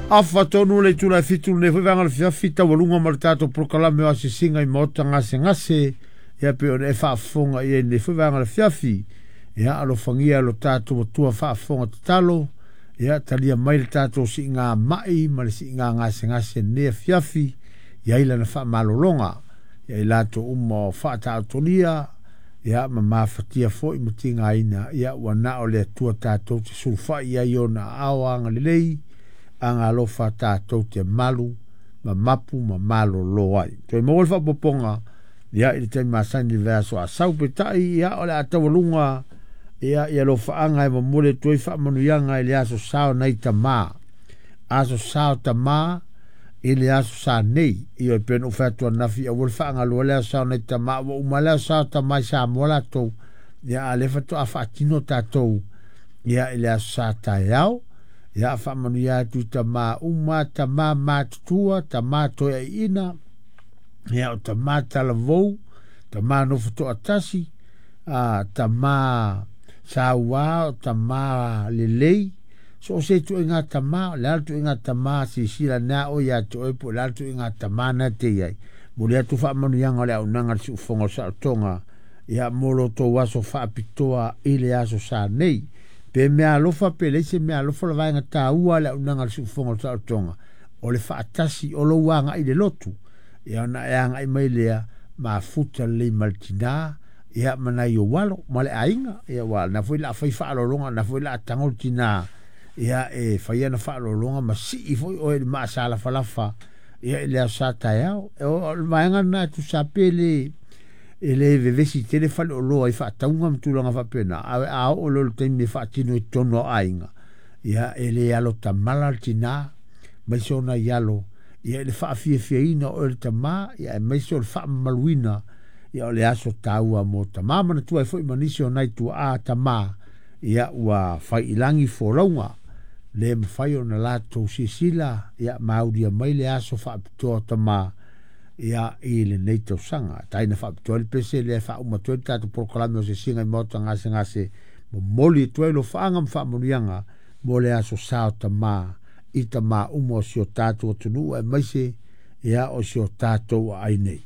Afa tonu le itula e 7 lenei foi vaega o le afiafi taualuga ma le tatou polokalame o asiasiga i maota gasegase ia pei ona e faafofoga i ai lenei foi vaega o le afiafi. Ia alofagia lo tatou Atua faafofoga tatalo, ia talia mai le tatou siiga mai ma le siiga gasegase lenei afiafi, ia i lana faamalologa ia i latou uma o faataotolia ia ma mafatia foi ma tigaina, ia ua na o le Atua tatou te sulufai ai ona aao agalelei agalofa tatou te malu ma mapu ma malolo ai. Toe maua le faaopoopoga ia i le taimi masani i le vaiaso a sau peitai ia o le a taualuga ia ia alofaaga e momoli atu ai faamanuiaga i le aso sa o nai tamā. Aso sa o tamā i le aso sa nei. Ioe e pei ona ou fai atu ananafi aua le faagaloa le aso sa o nai tamā ua uma le aso sa o tamā i Samoa latou. Ia a o lea faatoa faatino tatou ia i le aso sa taeao. Ia faamanuia atu i tamā uma, tamā matutua, tamā toeaiina, ia o tamā talavou, tamā nofo toatasi, tamā sauā, o tamā lelei, so o se ituaiga tamā, o le a le ituaiga tamā silasila ane a oe ia te oe po o le a le ituaiga tamā na te i ai. Momoli atu faamanuiaga o le auaunaga a le siufofoga o le saolotoga, ia mo lo outou aso faapitoa i le aso sa nei. Pe mea alofa pe leai se mea alofa, o le vaega taua a le auaunaga a le siufofoga o le saolotoga, o le faatasi o lou agai i le lotu. Ia ona e agai mai lea, mafuta lelei ma le tinā, ia ma nai ou alo, ma le aiga. Ia aua o lena foi o le a fai faaaloaloga, o lena foi o le a tago le tinā, ia e fai ana faaaloaloga ma sii foi oe i le maasalafalafa, ia i le aso sa taeao. O le vaega lena e tusa pe le e le vevesi tele faleoloa i faatauga ma tulaga faapena, ae a oo loa i le taimi e faatino i totonu o aiga, ia e le alo tamala le tinā, aemaise o nai alo, ia i le faafiafiaina o oe le tamā, ia aemaise o le faamamaluina, ia o le aso taua mo tamā. Manatua ai foi ma nisi o nai tuaa tamā, ia ua fai i lagi folauga, le mafai ona latou silasila, ia maulia mai le aso faapitoa o tamā, ia i lenei tausaga. Tai na faapitoa ai le pese lea e faauma atu ai le tatou polokalame o Asiasiga i Maota Gasegase, momoli atu ai alofaaga ma faamanuiaga mo le aso sa o tamā i tamā uma o si o tatou atunuu aemaise ia o si o tatou aai nei.